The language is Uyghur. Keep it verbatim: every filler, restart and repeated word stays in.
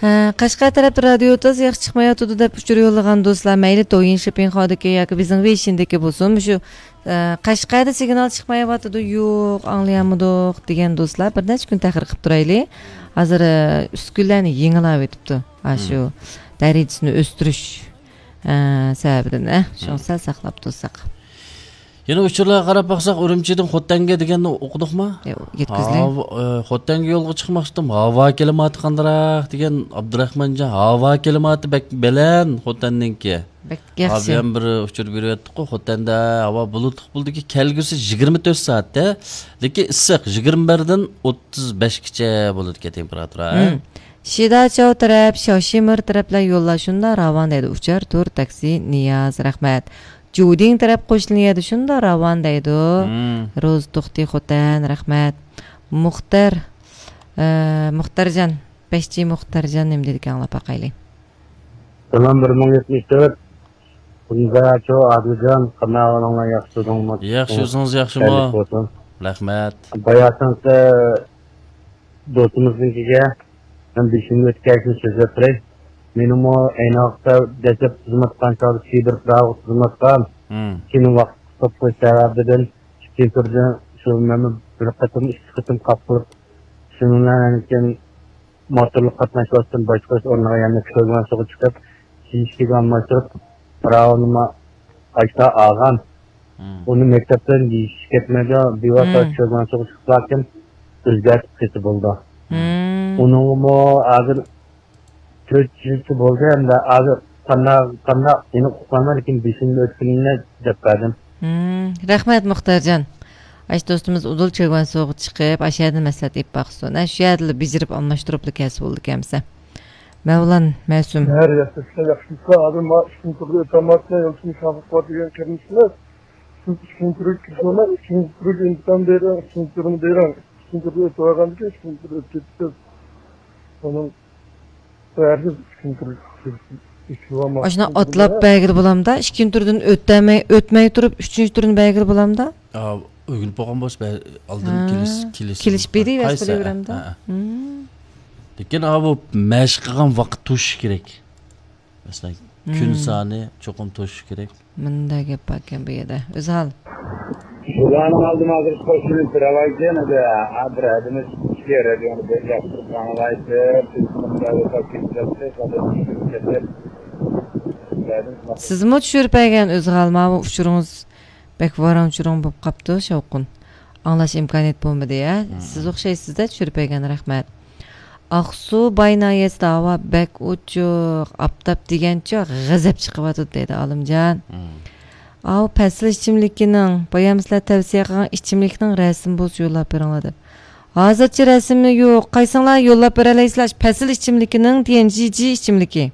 ئە، قەشقەر تەرەپتە رادىيو تاز ياخشى چىقمايۋاتىدۇ دەپ ئۇچۇر يوللىغان دوستلار، مەيلى دويىن شىپىڭخادىكى ياكى بىزنىڭ ۋېيشىندىكى بولسۇن، مۇشۇ، ئە، قەشقەردە سىگنال چىقمايۋاتىدۇ، يوق، ئاڭلىيالمىدۇق دېگەن دوستلار بىر نەچچە كۈن تەخىر قىلىپ تۇرايلى. ھازىر، ئە، ئۈسكۈنىلەرنى يېڭىلاۋېتىپتۇ. ھە، شۇ دەرىجىسىنى ئۆستۈرۈش، ئە، سەۋەبىدىن، ئە، شۇڭا سەل ساقلاپ تۇرساق. يەنە ئۇچۇرلارغا قاراپ باقساق، ئۈرۈمچىدىن خوتەنگە دېگەننى ئوقۇدۇقمۇ؟ ياق، يەتكۈزدى. ھاۋا، ئە، خوتەنگە يولغا چىقماقچىدىم. ھاۋا كىلىماتى قاندىراق دېگەن ئابدۇراخمانجان، ھاۋا كىلىماتى بەك بەلەن خوتەننىڭكى. بەك ياخشى. ھازىر بىر ئۇچۇر بېرىۋەتتۇققۇ، خوتەندە ھاۋا بۇلۇتلۇق بولىدىكى، كەلگۈسى يىگىرمە تۆت سائەتتە، لېكىن ئىسسىق، يىگىرمە بىردىن ئوتتۇز بەشكىچە بولىدىكەن تېمپېراتۇرا. شىداچاۋ تەرەپ، شاۋشىمىر تەرەپلەر يوللار شۇنداق راۋان دەيدۇ. ئۇچار تۇر، تاكسى، نىياز، رەھمەت. جۇدىڭ تەرەپ قوشنا يەردە شۇنداق راۋان دەيدۇ. روزا توختى خوتەن، رەھمەت. مۇختەر، ئە، مۇختەرجان، بەشچى مۇختەرجان نېمە دېدىكەن، ئاڭلاپ باقايلى. سالام، بىر مىڭ يەتمىش تۆت. كۈندە چو ئادىلجان، قانداق ئەھۋالىڭلار، ياخشى تۇردۇڭمۇ؟ ياخشى، ئۆزىڭىز ياخشىمۇ؟ خەيرلىك بولسۇن. رەھمەت. باياتىنقى دوستىمىزنىڭكىگە مەن بېشىمدىن ئۆتكەننى سۆزلەپ بېرەي. مېنىمۇ ئەينى ۋاقىتتا دەسلەپ خىزمەت قىلغان چاغدا سىبىر پىراغۇ خىزمەت قىلغان. كېيىن ۋاقىت قىسقىلىپ قېلىش سەۋەبىدىن ئىككىنچى تۈردىن شۇ مەن بىر قېتىم، ئىككى قېتىم قاپقۇرۇپ، شۇنىڭ بىلەن كېيىن موتورلۇق قاتناش ۋاسىتىسىنى باشقۇرۇش ئورنىغا يەنە كۆرگەن سۇغا چىقىپ، كىيىشكىگە ئالماشتۇرۇپ، پىراۋىنىمۇ ئاشتا ئالغان. ئۇنى مەكتەپتىن يېيىش كەتمەيدۇ، بىۋاسىتە كۆرگەن سۇغا چىقساكىن ئۆزگەرتىپ قىلسا بولىدۇ. ئۇنىڭغىمۇ ھازىر تۆت يىلچە بولدى، ئەمدى ھازىر قانداق، قانداق ئېنىق ئۇقمايمەن، لېكىن بېشىمدىن ئۆتكىنىنى دەپ بەردىم. رەھمەت، مۇختەرجان. ئاشۇ دوستىمىز ئۇدۇل چۆگۋەنسۇغا چىقىپ، ئاشۇ يەردىن مەسلىھەت ئېلىپ باقسۇن. ھە، شۇ يەردىلا بېجىرىپ ئالماشتۇرۇپلا كەلسە بولىدىكەنمىسە. مەۋلان مەسۇم. ھەر ياخشى، ياخشى. ھازىر ما ئىككىنچى تۈرگە ئۆتەلمەيۋاتىمەن، يولچىمىز شاپۇق بار دېگەن قېرىندىشىمىز. سىز ئىككىنچى تۈرگە كىرسىڭىز، ئىككىنچى تۈرگە ئىمتىھان بېرىڭ، ئىككىنچى تۈرنى بېرىڭ. ئىككىنچى تۈرگە ئۆتۈۋالغاندىن كېيىن ئىككىنچى تۈرگە ئۆتۈپ كېتىسىز. ئۇنىڭ ھەرگىز ئىككىنچى تۈرگە كىرىش، كىرىش، كىرىش بولماس. ئاشۇنداق ئىككىنچى ئاتلاپ تۈرگە. بەرگىلى بولامدا؟ ئىككىنچى تۈردىن ئۆتەلمەي، ئۆتمەي تۇرۇپ، ئۈچىنچى تۈرنى بەرگىلى بولامدا؟ ئا، ئۆگىنىپ بولغان بولسا، بە-، ئالدىن ھە. كېلىش، كېلىش كېلىشىپ بولغان. بېرىۋەرسە قايسى؟ بولۇۋېرەمدۇ؟ ھە، ھە. ھىم. لېكىن، ئا، بۇ مەشىق قىلغان ۋاقىت توشۇش كېرەك. مەسىلەن، كۈن ھىم. سانى چوقۇم توشۇش كېرەك. مۇنداق گەپ باركەن بۇ يەردە. ئۆزھال. بۇلارنىڭ ئالدىمۇ ھازىر قوشۇلۇپ تۇرالايدىكەن، ئەمدى ھە، بىر ھەدىمىز ئىككى رادىيونى بىر ياقتۇرۇپ ئاڭلايتتى، تېلېفوندا يوقاپ كېتىپ، سادىن چۈشۈرۈپ كەتتى. سىزمۇ چۈشۈرۈپ بەرگەن ئۆزھال، ماۋۇ ئۇچۇرىڭىز بەك ۋاراڭ-چۇرۇڭ بولۇپ قاپتۇ، شاۋقۇن. ئاڭلاش ئىمكانىيىتى بولمىدى، ھە؟ مم. سىز ئوخشايسىز-دە، چۈشۈرۈپ بەرگەن، رەھمەت. ئاقسۇ باي ناھىيەسىدە ھاۋا بەك ئوچۇق، ئاپتاپ دېگەنچە غەزەپ چىقىۋاتىدۇ، دەيدۇ ئالىمجان. مم. ئاۋۇ پەسىل ئىچىملىكىنىڭ، بايام سىلەر تەۋسىيە قىلغان ئىچىملىكنىڭ رەسىمى بولسا يوللاپ بېرىڭلار دەپ. ھازىرچە رەسىمى يوق، قايسىڭلار يوللاپ بېرەلەيسىلەر؟ پەسىل ئىچىملىكىنىڭ، تيەنجىجى ئىچىملىكى.